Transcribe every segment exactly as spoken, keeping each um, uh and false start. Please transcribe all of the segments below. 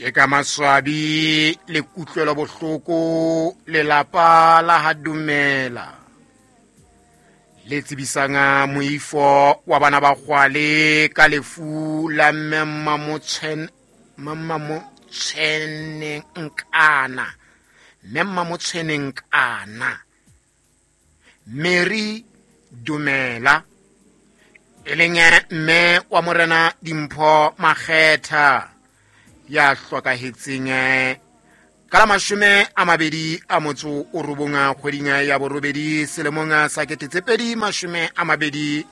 Ke ka maswabi le kutlwelo bohloko lelapa la ha Dumela le tsebisang moifo wa bana ba Kgwale ka lefu la mme Mmamotshweneng Nkana, mme Mmamotshweneng Nkana Mary Dumela, e leng mme wa Morena Dimpho Makgetha ya hlokahetseng ka la mashome a mabedi a motso o robong kgweding ya borobedi selemong sa kete tse pedi mashome a mabedi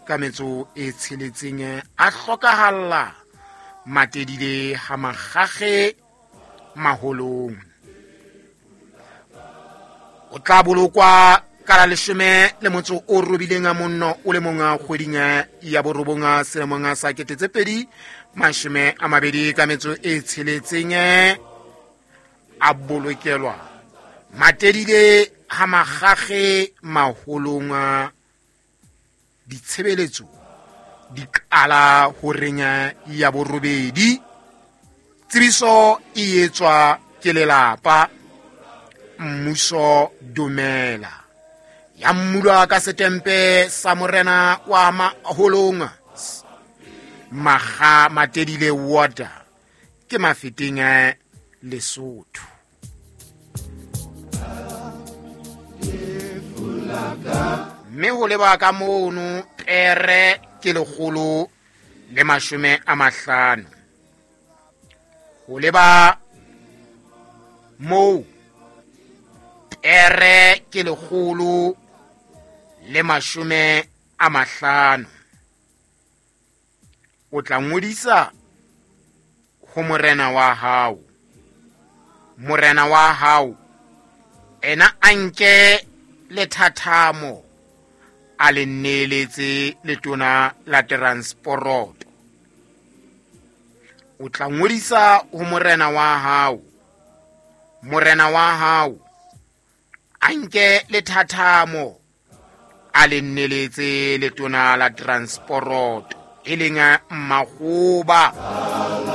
ka metso e tsheletseng, a hlokahalla Matedile ha Makgakge Maholong. O tla bolokwa ka la leshome le motso o robileng a monno o le mong kgweding ya borobong selemong sa kete tse pedi mashome a mabedi ka metso e tsheletseng, a bolokelwa Matedile ha Makgakge Maholong. Ditshebeletso di qala horeng ya borobedi. Tsebiso e etswa ke lelapa. Mmuso Dumela ya mmulwa ka setempe sa Morena wa Maholong Makga Matedile Water ke Mafeteng Lesotho. Mme ho leba ka mono pere ke lekgolo le mashome a mahlano. Ho leba moo pere ke lekgolo le mashome a mahlano. O tla ngodisa ho morena wa hao. Morena wa hao ena a nke lethathamo a le neeletse letona la transporoto. O tla ngodisa ho morena wa hao. Morena wa hao a nke lethathamo a le neeletse letona la transporoto e leng Mmakgoba.